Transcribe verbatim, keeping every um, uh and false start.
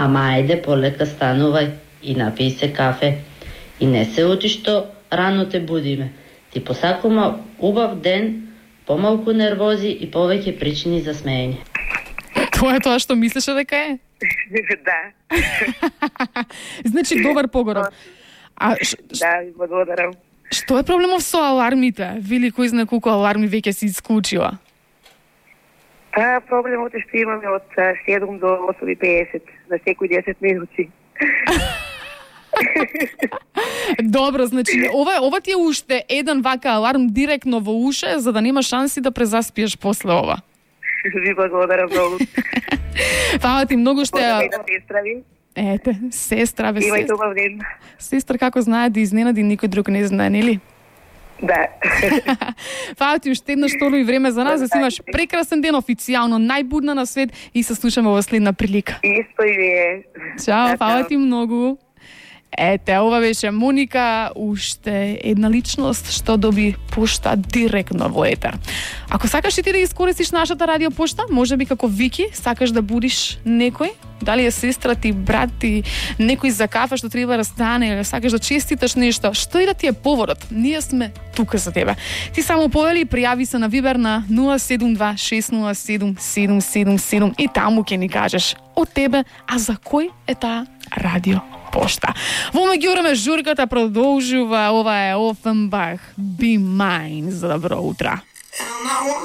Ама ајде полека станувај и напиј се кафе. И не се оти што рано те будиме. Ти посакувам убав ден, помалку нервози и повеќе причини за смеење. Тоа е тоа што мислеше дека е? Да. Значи добар погоров. А ш, ш, Да, ви благодарам. што е проблемов со алармите? Вели кој знае колку аларми веќе си исклучила? А, проблемот е што имаме од седум до осум и педесет на секој десет минути. Добро, значи ова ова ти е уште еден вака аларм директно во уше за да нема шанси да презаспиеш после ова. Ви благодарам многу. Фала ти многу што Благодарам и ја... на сестра ви. Ете, сестра, бе, Имајте сестра. убав ден. Сестра како знае да изненади, никој друг не знае, нели? Да. Фала ти уште еднаш толу и време за нас, да си имаш прекрасен ден, официјално најбудна на свет и се слушаме во следна прилика. Исто и вие. Чао, фала ти многу. Ете, ова беше Моника, уште една личност што доби пошта директно во етер. Ако сакаш и ти да искористиш нашата радио пошта, може би како Вики, сакаш да будиш некој, дали е сестра ти, брат ти, некој за кафе што треба да стане, или сакаш да честиташ нешто, што и да ти е поводот, ние сме тука за тебе. Ти само повели и пријави се на Вибер на нула седум два шест нула седум седум седум седум и таму ќе ни кажеш од тебе, а за кој е таа радио пошта. Во меѓувреме журката продолжува, ова е Офенбах, Be Mine, за добро утро.